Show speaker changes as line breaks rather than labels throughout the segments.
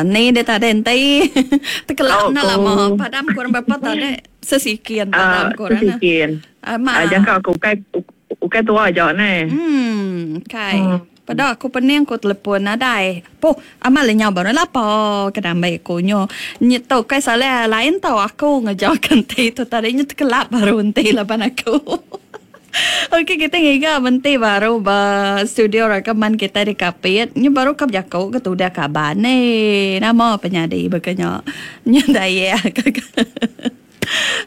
Ni dia tadi enti. Tekelap
Tau
enda
ku
lama padam kurang berapa tadi sesikin padam kurang.
Sesikin.
Ama.
Jangka aku ukai ukai tua aja neh.
Hmm, kai. Peda aku pening ku telefon nadai. Puh, amat lenyau baru lapa ke ambi aku nyu. Nyitu kai salah lain tau aku ngeja ke enti tu tadi nyu tekelap baru enti laban aku. Okey kita ngiga menti baru ba studio rakaman kita di Kapit. Nyu baru ka bejaku ke tudah kaban ni. Nama penyadi baka nya. Nyu daya ka.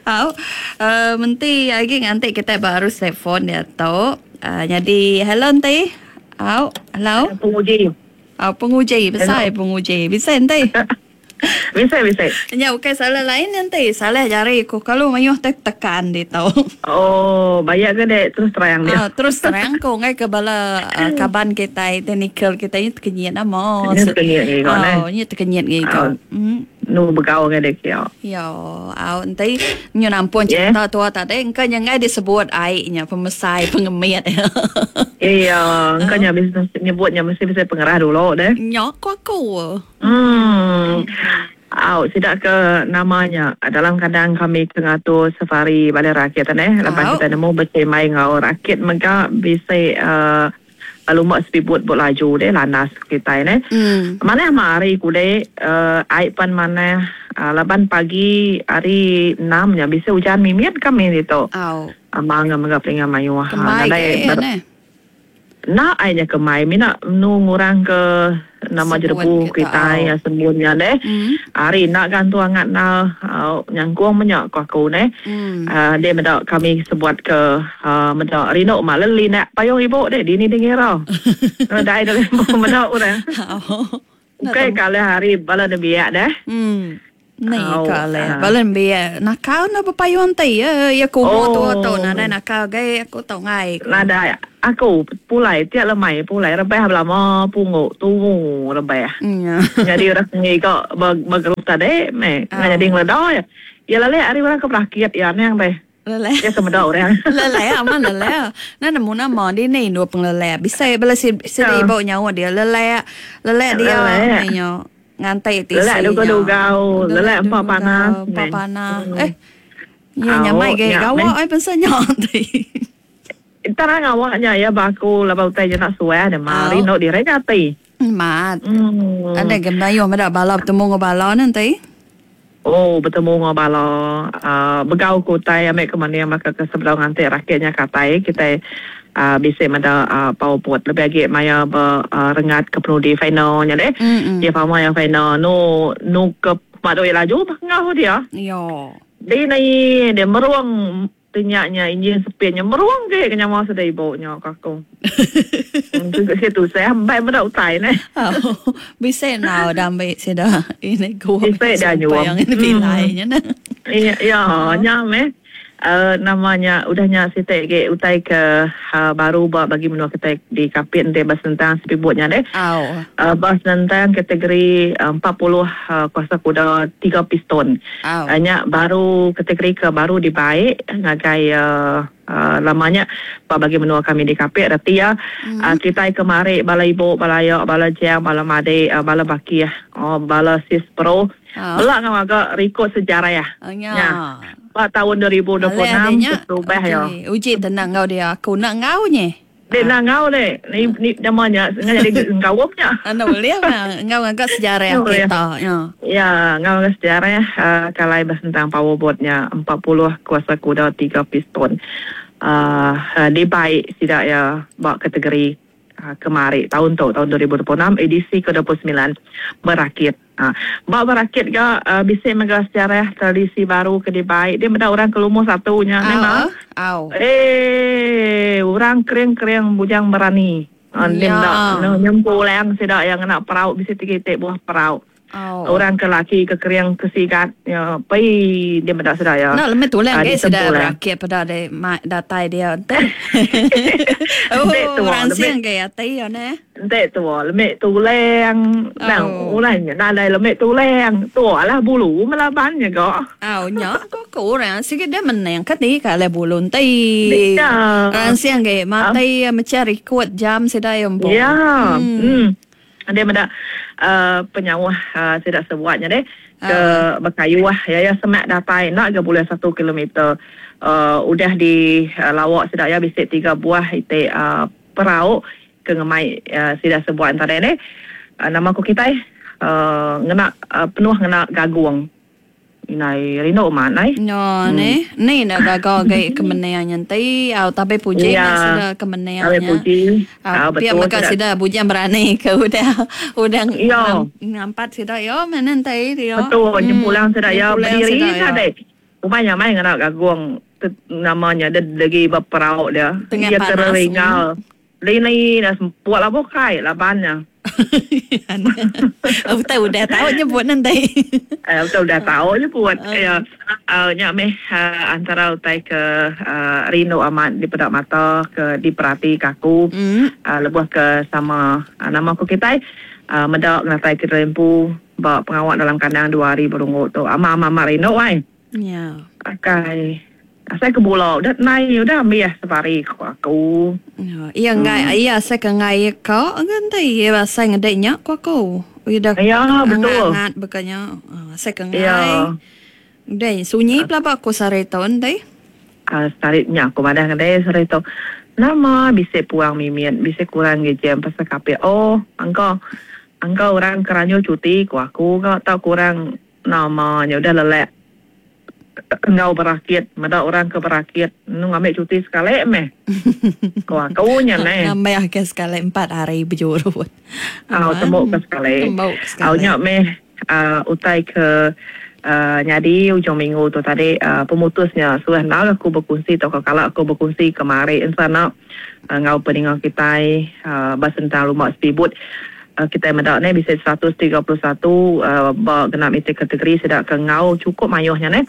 Au uh, menti agi nganti kita baru telefon diatu. Nyadi hello enti. Au, hello.
Penguji.
Au penguji besai penguji. Bisa enti.
Bisi bisi.
Nya ukai salah lain enti salah jari ku kalu mayuh te tekan ditu.
Oh bayak ke dek terus terang dia.
Ah terus terang ku enggai ke bala kaban kitai teknikal kitai nya tekenyit nama.
Nya tekenyit ngiga neh.
Oh nya tekenyit ngiga.
Nu begau ngagai dek kia.
Yo au enti nyu nampun cerita tua tadi engka nya enggai disebut ai nya pemesai pengemit.
Iya engka nya bisi nyebut nya mesti bisi pengerah dulu deh.
Nya ku aku.
Emm. Au sida ke nama nya dalam kadang kami ke ngatur safari balai rakit neh laban kita nemu besimbai enggau rakit mega bisi uhh lumba speedboat bot laju deh landas kitai neh. Manah mah hari kudi uhh ai pan manah uhh laban pagi hari enam nya bisi ujan mimit kami ditu. Amang mega pelinga mayuh nadai ber. Enda ai nya ke mai mina menu ngurang ke nama jerebu kitai sembun nya deh. Ari enda ga antu angat enda nyangkung meh nya ku aku neh. Deh meda kami sebuat ke meda rindu ma leli enda payung ibu deh dini deh ngira. Nadai deh meda orang. Ukai ke alih ari bala nembiak deh.
Ni ke alih bala nembiak nakal enda bepayung ti iya iya ke umur tua tu nadai nakal agi aku tau enggai ku.
Nadai aku pulai tiap lemai pulai rebah belama punggu tumu rebah. Nyadi orang ke ngiga ba gerup tadi meh nyadi ngeleda iya. Iya lalek ari orang ke berakit iya anang deh.
Leleh.
Iya ke meda orang.
Leleh amat leleh. Nah nemu nama dini endur pengeleleh. Bisi bala sida ibu nyaut dia leleh. Leleh dia
Leleh.
nyo nganti tisi
Leleh
nya.
dugau-dugau, leleh empa panas
Empa
meh.
panas. Eh. Iya
Au,
nyamai agi
nya
gawa
meh.
ai bansa nya ti.
Terang awak nya iya ba aku laban utai nya enda suah deh mah
Au.
rindu diri nya ati.
Mat.
Hmm.
Ada ga mayuh meda bala betemu enggau bala ne enti.
Oh betemu enggau bala uhh begau ke utai ambi ke mending baka ke sebedau nganti rakit nya ke atai kitai uhh bisi meda uhh power boat lebih agi maya ba uhh renggat ke penudi final nya deh.
Mm.
Iya pama iya final nu nu ke pemadu iya laju bah enggau dia.
Iyo.
Di naie dia merung Ti nya nya injin sepit nya merung agi ke nyawa sida ibu nya ka aku. Sigi tusah empai meda utai neh.
Au bisi enggau da ambi sida ini gua
Bisi da nyuam.
Yang ini pilai nya neh.
Iya iya nya meh uhh nama nya udah nya siti agi utai ke baru ba bagi menua kitai di Kapit enti ba senentang speedboat nya deh.
Au.
Ba senentang kategori 40 kuasa kuda tiga piston. Nya baru kategori ke baru dibai ngagai lama nya ba bagi menua kami di Kapit reti iya kitai kemari bala ibu bala aya bala jang bala madi bala bakih bala sis pro bela enggau ngaga rikod sejarah nya ba taun 2026 keterubah iya.
Uji tenang enggau dia aku enda enggau nyeh.
Dek enda enggau dek. Ni ni nama nya sengaja jadi engkaup nya.
Enda ulih mah enggau ngaga sejarah kita nya.
Ya, enggau ngaga sejarah uhh kalai ba sentang power boat nya 40 kuasa kuda tiga piston uhh dibai sida iya ba kategori kemari taun tu taun 2026 edisi ke 29 berakit. Ba berakit ga bisi mega sejarah tradisi baru ke dibai dia meda orang ke lumur satu nya meh ma. Eee orang kering-kering bujang berani. Dia meda nyempulang sida iya ngena perau bisi tiga iti buah perau. Orang ke laki ke kering ke sigat nya pei dia meda sida iya.
Enda lemai tulang agi sida berakit peda datai dia enti. Oh ransing agi ati iya neh.
Enti tua lemik tulang nang ulah nya nadai lemik tulang tua lah bulu melaban nya ga.
Au nya ko ku orang sigi deh menang ka ti ka alai bulu enti ransing agi mati mecah rikut jam sida iya empu.
Ya. Em. Dia meda. Penyauh sida sebuat nya deh ke bekayuh iya iya semak datai enda ga bulih satu kilometer udah di lawa sida iya bisi tiga buah iti perau ke ngemai sida sebuat enta deh deh nama ku kitai ngena penuh ngena gagung. Indai rindu amat ai.
Nya neh. Ni enda gaga agi ke mening nya enti au tabi puji meh sida ke mening nya.
Tabi puji.
Au pia mega sida bujang berani ke udah udah ngampat sida iya meh neh enti
dia. Betul nyempulang sida iya bediri tadi. Ubai nyamai ngena gagung nama nya legi ba perau dia.
Iya
tereringal. Lini dah semput lah bukai laban nya.
Utai udah tau nyebut nanti.
Eh, utai udah tau nyebut. Ya. Nya meh antara utai ke rindu amat dipeda mata ke diperati ke aku lebuh ke sama nama ku kitai meda ngenatai ke diri empu ba pengawa dalam kandang dua hari berunggu tu. Amat amat amat rindu ai.
Nya.
Akai. Asai ke bula udah nai udah ambih safari ku aku.
Iya enggai iya asai ke enggai ka ke enti iya asai ngedi nya ku aku. Udah
iya betul.
Angat baka nya. Asai ke enggai. Iya. Udah sunyi pelaba aku sehari tu enti.
Sehari nya aku madah ngagai sehari tu. Nama bisi puang mimit bisi kurang agi jam pasal kapit. Oh angka angka orang ke ranjau cuti ku aku ga tau kurang Nama nya udah lelak enggau berakit meda orang ke berakit enu ngambi cuti sekali meh. Ko aku nya neh.
Ngambi ke sekali empat hari bejurut.
Au tembu ke sekali.
Tembu ke sekali.
Au nya meh utai ke nyadi ujung minggu tu tadi pemutus nya suah endar aku bekunsi tauka kala aku bekunsi kemari ensana enggau peninga kitai ba sentang lumba speedboat. Kitai meda neh bisi 131 ba genap iti kategori sida ke enggau chukup mayuh nya neh.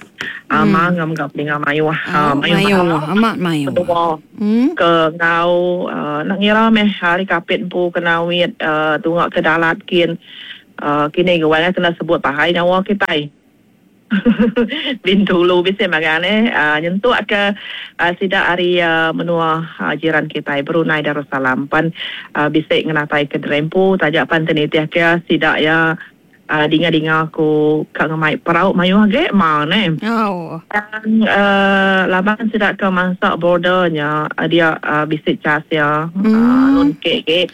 Ama enggau mega peninga mayuh
mayuh amat mayuh
menua ke enggau enda ngira meh ari Kapit empu ke Nawit tunga ke Dalat kin kini ke wai kena sebut pahai nyawa kitai. Bintulu bisi magang neh nyentuk ke sida ari menua jiran kitai Brunei Darussalam pan bisi ngenatai ke derempu taja pan ti nitih ke sida iya dinga-dinga ku ka ngemai perau mayuh agi ma neh. Tang laban sida ke mansa border nya dia bisi cas iya nun ke agi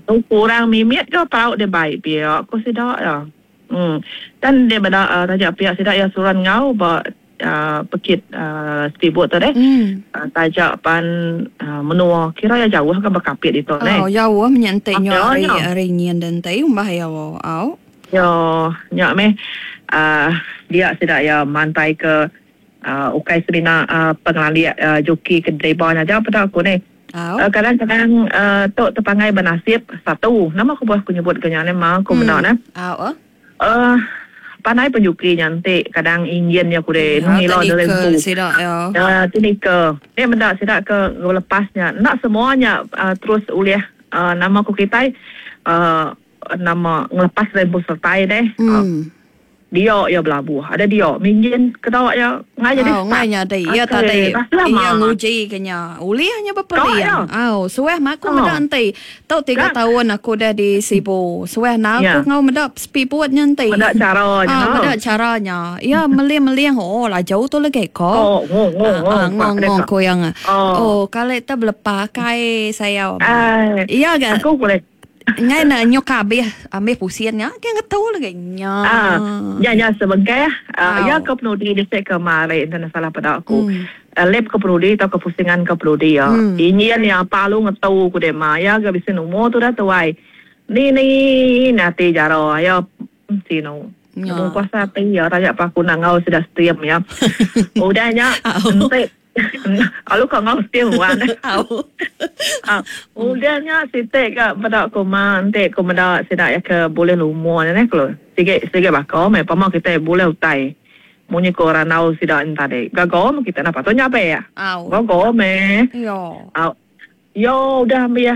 tu kurang mimit ga perau dibai pia ku sida iya. Tan deh meda taja pia sida iya suran enggau ba pekit speedboat tu deh. Taja pan menua kira iya jauh ga bekapit ditu neh.
Oh jauh menya enti nyu ari ari nyin deh enti umbah iya au.
Yo nya meh dia sida iya mantai ke ukai semina pengelandik joki ke driba nya aja peda aku neh. Kadang-kadang tu tepangai benasib satu. Nama kebuah aku nyebut ke nya neh ma aku meda neh. Pandai penjuki nya enti kadang injin nya kudei ngila diri empu. Teknikal. Nya meda sida ke ngelepas nya enda semua nya terus ulih nama ku kitai nama ngelepas diri empu sertai deh. Dia iya belabuh. Ada dia minjin keda iya
ngai jadi start. Ngai nyadi. Iya tadi iya nguji ke nya. Ulih nya bepering. Au suah mah aku meda enti. Tu tiga taun aku udah di Sibu. Suah enda aku enggau meda speedboat nya enti.
Meda cara
nya. Meda cara nya. Iya meling-meling oh laju tu lagi ko.
Ngong
ngong ko iya. Oh kali tu belepa kai sayau.
Iya ga. Aku boleh.
Enggai ne nyuka abih ambih pusin nya ke ngetu lagi nya.
Ah, nya nya sebengkah ah, iya ke penudi bisi ke mari enti ne salah peda aku. Lap ke penudi tauka pusingan ke penudi iya. Injin iya palu ngetu ku deh ma iya ga bisi numur tudah tuai. Ni ni ati jara iya sinu. Nemu kuasa ati iya taja pa aku enda enggau sida steam iya. Udah nya enti Lalu ka enggau steam wan. Udah nya siti ka peda ku ma enti ku meda sida iya ke bulih lumur nya neh kelu. Sigi sigi baka meh pama kitai bulih utai. Munyi ku randau sida nya tadi. Gaga meh kitai enda patut nyabek. Gaga meh. Yo udah ambih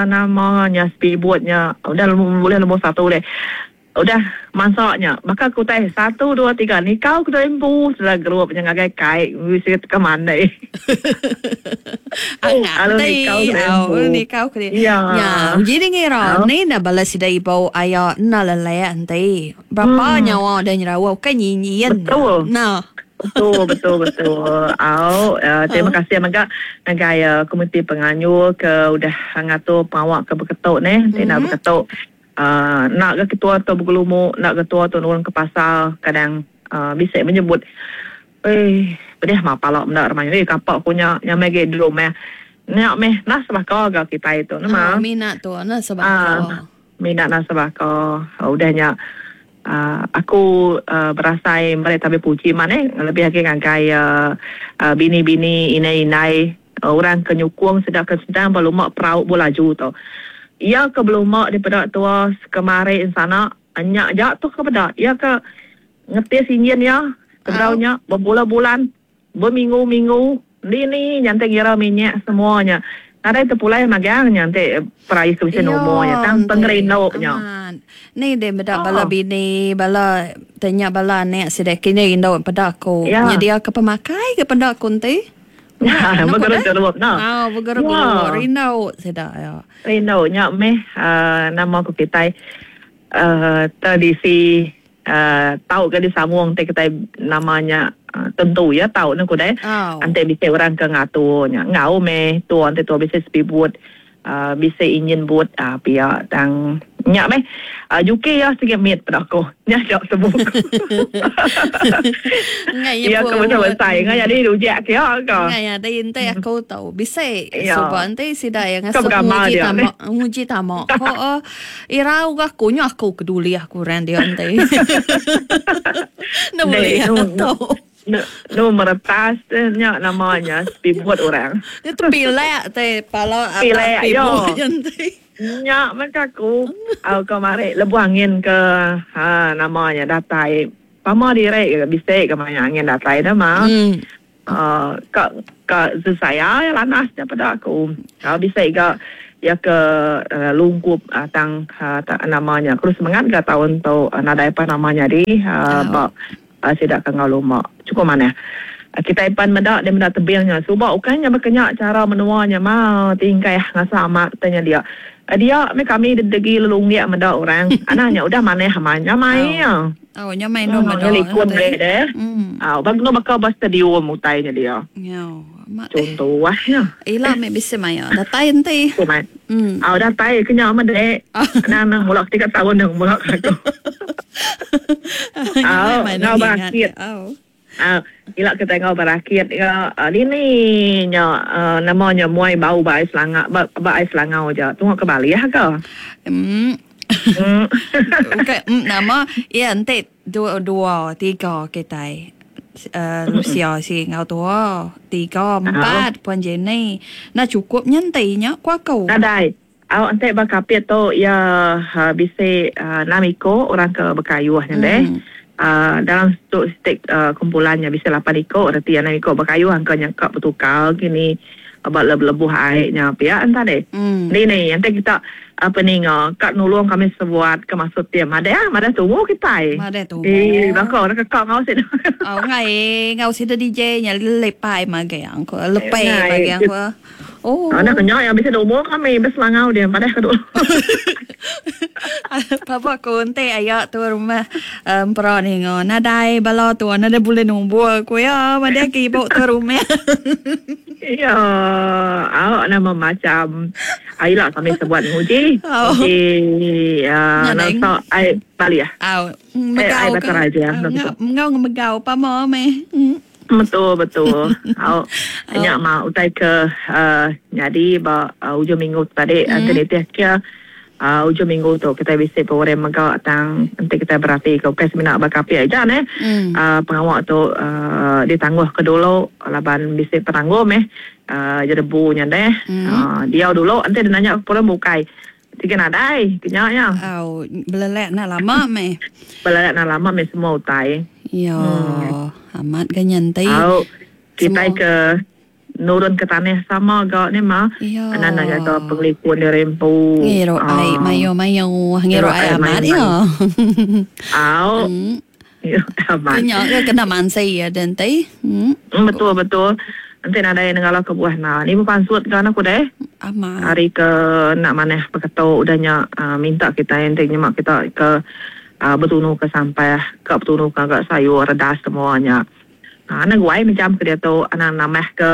nama nya speedboat nya udah bulih lumur satu deh. Udah masaknya baka ku utai satu dua tiga nikau ke dua empu sida gerup nya ngagai kai bisi ke mandi.
Alu nikau ke empu. Nikau ke
ya.
Nya uji di ngira ni enda bala sida ibu aya enda lelak enti. Berapa nyawa udah nyerawa ukai nyinyin.
Betul.
Nah.
Betul betul betul. Au terima kasih mega ngagai komiti penganjur ke udah ngatur pengawa ke beketu neh ti enda beketu. Enda ga ketua tu begelumu, enda ketua tu nurun ke pasar kadang bisi menyebut eii pedih mah pala menda ramai nya kapa ku nya nyamai agi di rumah. Nya meh nah sebaka ga kitai tu nama.
Minat tu nah sebaka.
Minat nah sebaka. Udah nya aku berasai meri tabi puji maneh lebih agi ngagai bini-bini indai-indai orang ke nyukung sida ke sedang beluma perau belaju tu. Iya ke beluma dipeda tua kemari ensana nya aja tu ke peda. Iya ke ngetis injin iya sebedau nya bebulan-bulan. Beminggu-minggu, dini nya enti ngira minyak semua nya nadai tepulai magang nya enti perais ke bisi numur nya tang pengerindu nya.
Amat. Ni deh meda bala bini, bala te nya bala anak sida kini indu peda aku nyediaka pemakai ke peda aku enti.
Begerup-gerup
nah. Au begerup-gerup rindu sida iya.
Rindu nya meh nama ku kitai tradisi Tau ke disambung ti kitai nama nya tentu iya tau ne ku deh. Enti bisi orang ke ngatur nya enggau meh tua enti tua bisi sepibut bisi injin but pia tang nya meh juki iya sigi mit peda aku nya aja sebut ku. Iya ke besai besai ngai nyadi rujak kia ka.
Ngai nyadi enti aku tau bisi suba enti sida iya ngasuh nguji tama nguji tama ko. Irau ga aku nya aku ke dulih aku orang dia enti. Enda bulih tu.
Nu meretas nya nama nya speedboat orang.
Nya tepilak te pala atas speedboat nya enti.
Nya meh ka aku au kemari lebuh angin ke ha nama nya datai pama diri ga bisi ga maya angin datai nama. Ka ka sesaya lanas nya peda aku. Bisi ga iya ke lungkup tang nama nya terus semengat ga taun tu nadai pa nama nyadi ba sida ke enggau luma. Chukup manah. Kitai pan meda deh meda tebing nya suba ukai nya baka nya chara menua nya ma tingkah ngasa amat te nya dia. Dia meh kami degi lelunggik meda orang. Anang nya udah manah amat nyamai iya.
Oh, nya main dong
meda. Likun deh deh. Au, bang kena baka ba stadium utai nya dia.
Nyau. Amat.
Contoh wah nya.
Ila meh bisi maya datai enti.
Mai. Au datai ke nya meh dek. Nang nang mula tiga taun nang mula aku.
Au,
ngau berakit.
Au.
Au, ila kitai enggau berakit ga dini nya nama nya muai bau ba ai selanga ba ai selangau aja tunga ke balih ka.
Em. Ukai em nama iya enti dua dua tiga kitai Lucia si enggau tua tiga empat Puan Jenny enda chukup nya enti nya ku aku.
Nadai. Au enti ba kapit tu iya bisi enam iko orang ke bekayuh nya deh. Dalam tu siti kumpulan nya bisi lapan iko reti iya enam iko bekayuh angka nya ka betukar kini ba lebuh ai nya pia enta deh. Ni ni enti kita peninga ka nulung kami sebuat ke maksud ti madah madah tumu kitai.
Madah tumu.
Ii baka orang ke ka enggau sida.
Au ngai enggau sida DJ nya lepai magang ko lepai magang ko.
Oh. Anak kenya yang bisi umur kami beselangau dia padah ke dulu.
Papa ku enti aya tu rumah empera ninga nadai bala tu nadai bulih numbur ku iya madah ke ibu tu rumah.
Iya, au nama macam ila kami sebuat nguji. Nguji nasa ai bali ah.
Au megau
ke.
Ngau ngemegau pama meh.
Betul betul. Au nya mah utai ke nyadi ba ujung minggu tu tadi enti nitih ke ujung minggu tu kitai bisi program mega tang enti kitai berati ke ukai semina ba kapit aja neh pengawa tu ditangguh ke dulu laban bisi penanggul meh jerebu nya deh diau dulu enti nanya program bukai sigi nadai ke nya iya.
Au belelak enda lama meh.
Belelak enda lama meh semua utai.
Iya amat ga nya enti.
Au kitai ke. Nurun ke tanah sama ga ni mah.
Iya.
Anak nak jaga pengelikun diri empu.
Ngirup ai mayuh-mayuh. Ngirup ai amat iya.
Au. Ngirup amat.
Kenya ke kena mansi iya den ti.
Betul betul. Enti nadai nenggala ke buah enda. Ni bepansut ga aku deh.
Amat.
Hari ke enda manah beketu udah nya minta kitai enti nyema kita ke betunu ke sampah ka betunu ke ngaga sayur redas semua nya. Anang guai mejam ke diatu anang nambah ke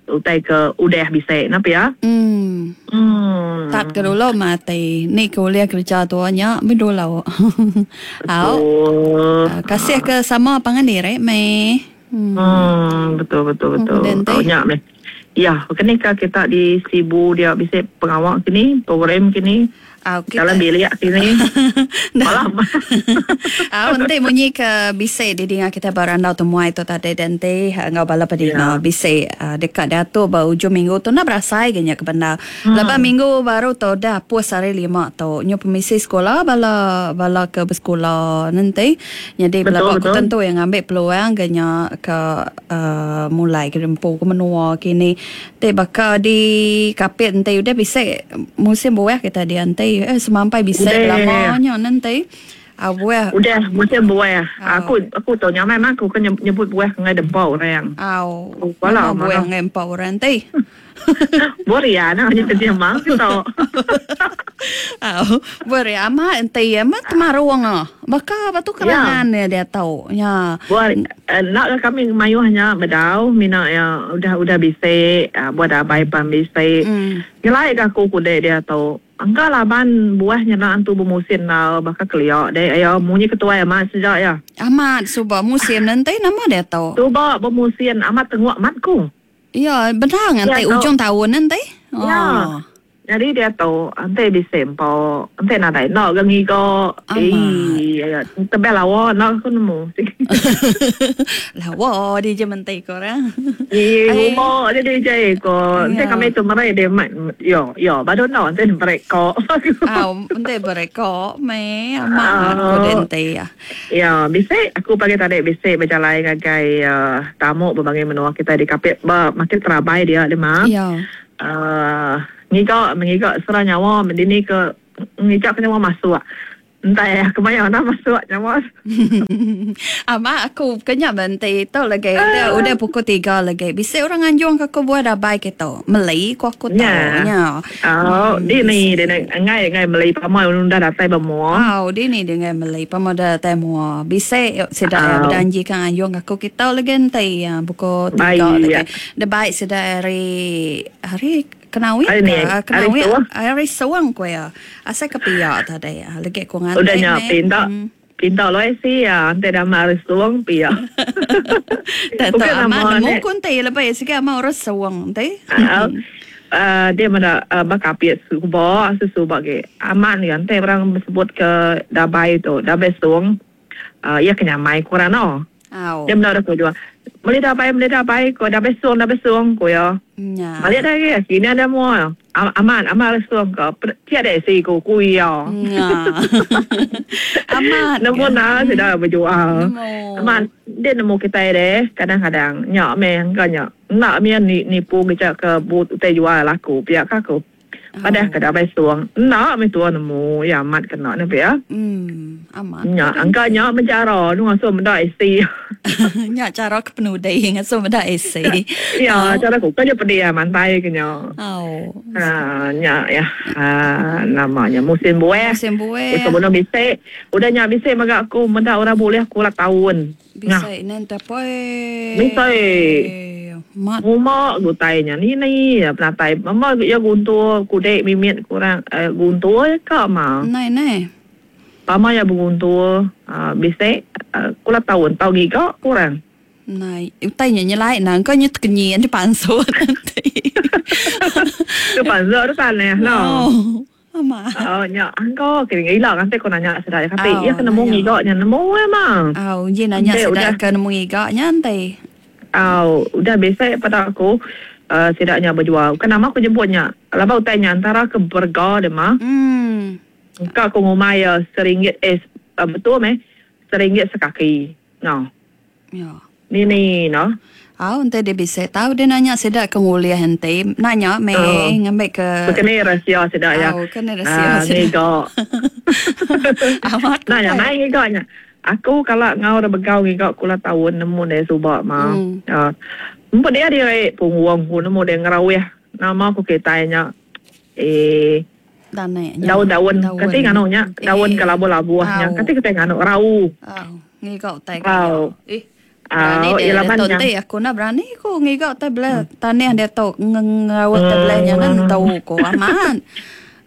utai ke udah bisi ne pia.
Emm. Tat ke dulu mah ati ni ke ulih kereja tua nya meh dulu. Au. Kasih ke sama pangan diri meh.
Emm betul betul betul. Au nya meh. Ya baka ni ka kita di Sibu dia bisi pengawa kini program kini.
Au kita.
Dalam bilik kini.
Malam. Au enti munyi ke bisi didinga kita ba randau temuai tu tadi dan enti enggau bala pedinga yeah. bisi uh, deka diatur ba ujung minggu tu enda berasai ga nya ke bendar. Hmm. Laban minggu baru tu dah apus hari lima tu. Nyu pemisi sekolah bala bala ke besekula nanti. Nyadi bala aku tentu yang ngambil peluang ga nya ke uh, mulai ke dempu ke menua kini. Ti baka di Kapit enti udah bisi musim buah kita dia enti eh semampai bisi belama nya ne enti au buah.
Udah musim buah. Aku aku tu nyamai mah aku ke nyebut buah ke enggai dempa orang.
Au. Nama buah enggai empa orang enti.
Buah ria nah nya ke mah tu.
Au buah ria amat enti amat temarung ah. Baka batu kerangan iya diatu nya.
Buah enda ga kami mayuh nya bedau mina iya udah udah bisi buah dabai pan bisi. Nyelai ga aku kude diatu. Engka laban buah nyena antu bemusin enggau baka kelia deh iya munyi ketuai amat sida iya.
Amat suba musim ne enti nama diatu.
Suba bemusin amat tenguk amat ku.
Iya bendar nganti ujung taun ne enti.
Iya. Nyadi diatu enti bisi empa enti nadai enda ga ngiga eii tebal lawa enda aku nemu.
Lawa dije menti ko orang.
Ii nguma aja dije ko enti kami tu meri dia yo yo badu enda enti meri ko.
Au enti beri ko meh amat ko dia enti.
Ya bisi aku pagi tadi bisi bejalai ngagai tamu bebangi menua kitai di Kapit ba makin terabai dia dema.
Ya.
Aaa ngiga mengiga sera nyawa mendini ke ngiga ke nyawa masuk. Entai aku maya enda masuk nyawa.
Amat aku ke nya benti tu lagi udah udah pukul 3 lagi. Bisi orang nganjung ke aku buah dabai ke tu. Meli ku aku tu
nya. Au dini dini enggai enggai meli pama udah datai ba mua.
Au dini dia enggai meli pama udah datai mua. Bisi sida iya bedanji ka nganjung ke aku kitu lagi enti pukul 3 lagi. Debai sida hari hari kenawit ka kenawit hari suang ku iya. Asai ke pia tadi legi ku nganti
Udah nya pinta pinta loi si iya enti dama hari suang pia.
Tak tahu amat nemu ku enti lebih sigi amat orang suang enti.
Uh, dia meda uh, bakapit suba sesuba ge amat ni enti orang sebut ke dabai tu dabai suang Uh, iya ke nyamai ku orang no.
Au.
Dia meda ku jual. Meli dabai, meli dabai, ko dabai sung, dabai sung ku iya.
Nya.
Balik dah lagi, kini ada mua. Amat, amat sung ko. Tiada dek si ku ku iya.
Nya. Amat.
Nemu na sida berjual.
Nemu.
Amat, dia nemu kitai deh kadang-kadang. Nya meh engka nya. Enda meh nipu ngeja ke but utai jual laku pia ka aku. Padah ke dabai suang. Enda meh tua nemu iya amat kena ne pia.
Emm amat.
Nya angka nya meh cara nu ngasuh meda isi.
Nya cara ke penudi ngasuh meda isi.
Ya cara ku ke pedih mantai ke nya.
Au.
Haa nya ya haa nama nya musim buah.
Musim buah.
Udah meda bisi. Udah nya bisi mega aku meda orang bulih kulat taun.
Bisi nen tapoi.
Bisi.
Mat.
Nguma gutai nya ni ni ya penatai. Mama ya guntur kudek mimit kurang eh, guntur ya ka ma.
Nai nai.
Pama ya beguntur uh, bisi uh, kula taun tau giga kurang.
Nai utai nya nyelai nang ko nya tekenyi di pansut nanti.
Tu pansut tu tanah no.
Oh. Amat.
Oh nya angko ke ila nganti ko nanya sida ya kati
Au,
iya ke nemu
nanya.
ngiga nya nemu ya ma.
Au, uji nanya
Enti
sida
udah
ke nemu ngiga nya enti.
Au, udah bisi peda aku uh, sida nya bejual. Bukan nama aku nyebut nya. Laban utai nya antara ke berega dia ma.
Hmm.
Engka aku ngumbai iya seringgit eh uh, betul meh seringgit sekaki. No.
Ya.
Ni ni no.
Au enti dia bisi tau dia nanya sida ke ngulih enti nanya meh oh. ngambi ke
Bekeni rahsia sida ya.
Au kene rahsia sida.
Ngiga.
Amat.
Nanya mai ngiga nya. Aku kala ngau ra begau ngiga kula taun nemu deh suba ma.
Hmm.
Empu dia diri punggung ku nemu deh ngerawih nama ku kitai nya. Eh daun-daun kati nganu nya daun ke labuh-labuh nya kati kitai nganu rau.
Au ngiga utai ke. Eh Berani
Au,
dia
iya laban
tu
nya.
enti aku enda berani ku ngiga utai bela tanih dia tu ngawat utai bela nya nentu ku amat.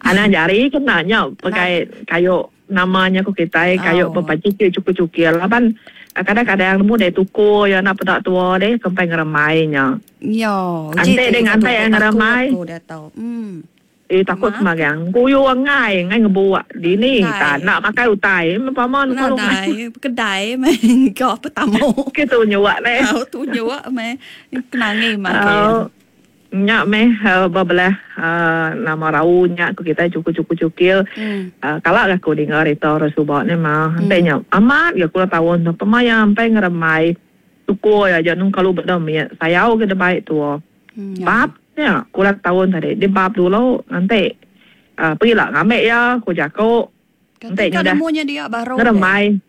Anang jari kena nya pegai kayu nama nya ku kitai kayu bepaji cukil-cukil laban kadang-kadang nemu deh tuku iya enda peda tua deh kempai ngeremai nya.
Yo, uji
Enti deh ngantai iya ngeremai.
Aku dia tu. Hmm.
Eh takut semagang. Kuyu enggai, enggai ngebuk. Dini ta enda makai utai. Pama ne
kalu. Nadai kedai meh ga petamu.
Ke tunjuk neh.
Au tunjuk meh kenangi makai.
Au nya meh bebelah nama rau nya ku kitai cukup-cukup cukil. Kala ga aku dinga rita orang suba ne mah. Enti nya amat ga kula taun tu pemaya empai ngerembai tuku aja nung kalu beda mit sayau ga dibai tua. Bab nya kurang taun tadi dia bab dulu nganti uh, pegila ngambi iya ku jaku.
Enti
nyudah
nemunya dia baru
ngerembai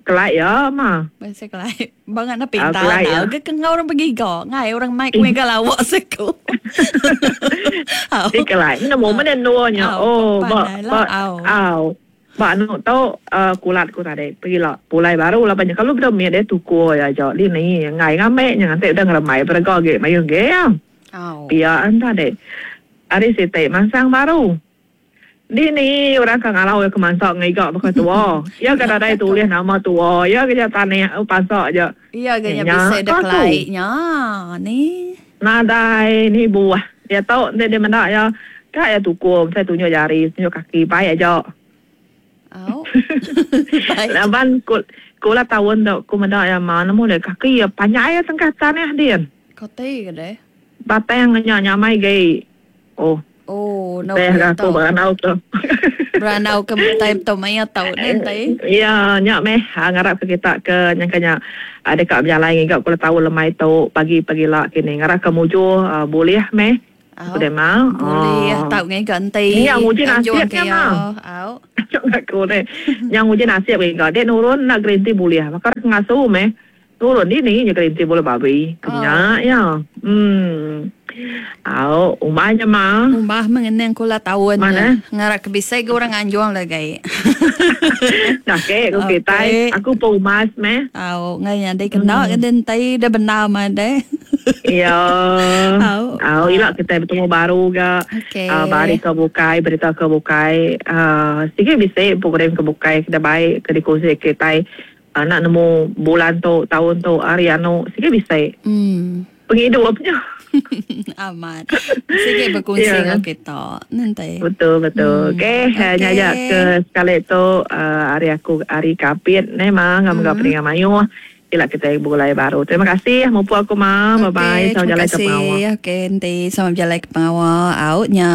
kelai iya mah.
Bisi kelai. Bangat na pintar uh, ke ke ngau orang begiga ngai orang mai ku mega lawak seku.
Di kelai nemu mana nuanya. Oh ba ba au. Ba anu tu kulat ku tadi pegila pulai baru laban nya kalu beda mit dia tuku iya aja dini enggai ngambi nya nganti udah ngerembai berega agi mayuh agi iya. Pia an tadi ari siti mansang baru dini orang ka ngalau iya ke mansa ngiga baka tua iya ga nadai tulih nama tua iya ga nya tanih pansa aja.
Iya ga nya bisi da kelai nya ni.
Nadai ni buah diatu enti dia meda iya ka iya tuku mesai tunjuk jari tunjuk kaki bai aja.
Au.
Laban ku kula taun tu ku meda iya ma nemu deh kaki iya panjai iya tengkah tanah din.
Kati ke deh.
Batang nya nyamai gi. Oh.
Oh, no
Teh aku beranau tu.
Beranau ke time tu maya tau ni enti.
Ya, nya meh ngarap ke kita ke nyangka nya deka bejalai ngiga kula taun lemai tu pagi pagila kini. Ngarap ke mujur bulih meh.
Au. Bulih tau ngiga enti.
Nya nguji nasib nya mah.
Au.
Aku ni. Nya nguji nasib ngiga dek nurun enda gerinti bulih. Baka ngasu meh. Turun dini nya kerinti bulu babi. Kenya iya. Emm. Au, umbah nya ma.
Umbah mengenang kula taun nya. Ngarap ke bisi ga orang nganjung lagi.
Ake ku kitai, aku pun umbas meh.
Au, ngai nyadi kena ke enti dah bendar meh deh.
Iya. Au. Au, ila kitai betemu baru ga.
Okey.
Ba hari ke bukai, berita ke bukai. Aaa sigi bisi program ke bukai ke dibai ke dikongsi kitai. Anak nemu bulan tu, taun tu, hari anu sigi bisi. Pengidup nya.
Amat. Sigi bekunsi
Ya.
enggau kita. Nanti.
Betul betul. Okey,
Okey.
nya aja ke sekali tu hari aku hari Kapit neh ma enggau mega peninga mayuh. Ila kitai begulai baru. Terima kasih mupuk aku ma. Bye bye.
Okey,
Selamat
terima
bejalai ke pengawa.
kasih. Okey, enti selamat bejalai ke pengawa. Au nya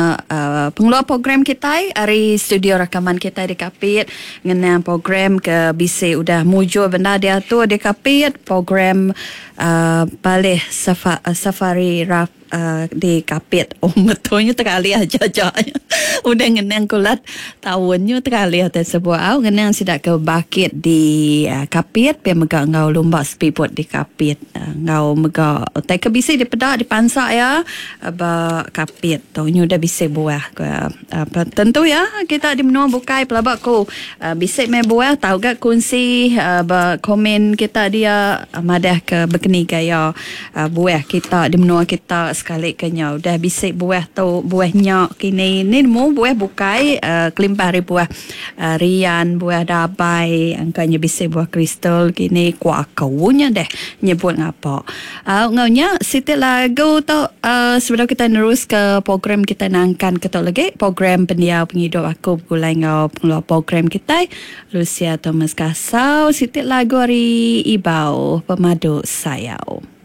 pengeluar program kitai ari studio rakaman kitai di Kapit. Ngenang program ke bisi udah mujur bendar diatur di Kapit, program Palih Safari Raf di Kapit. Oh betul nya teralih aja aja nya. Udah ngenang kulat taun nya teralih te sebuah au ngenang sida ke bakit di Kapit pia mega enggau lumba speedboat di Kapit enggau mega utai ke bisi dipeda dipansa iya ba Kapit tu nya udah bisi buah ke. Tentu iya kita di menua bukai pelaba ku bisi meh buah tau ga kunsi ba komen kita dia madah ke bekeni gaya buah kita di menua kita sekali ke nya udah bisi buah tu buah nya kini ni nemu buah bukai kelimpah ari buah rian buah dabai engka nya bisi buah kristal kini ku aku nya deh nyebut ngapa. Au enggau nya siti lagu tu sebedau kitai neruska program kitai nangkan ke tu lagi program pendiau pengidup aku begulai enggau pengeluar program kitai Lucia Thomas Kasau siti lagu ari Ibau Pemadu Sayau.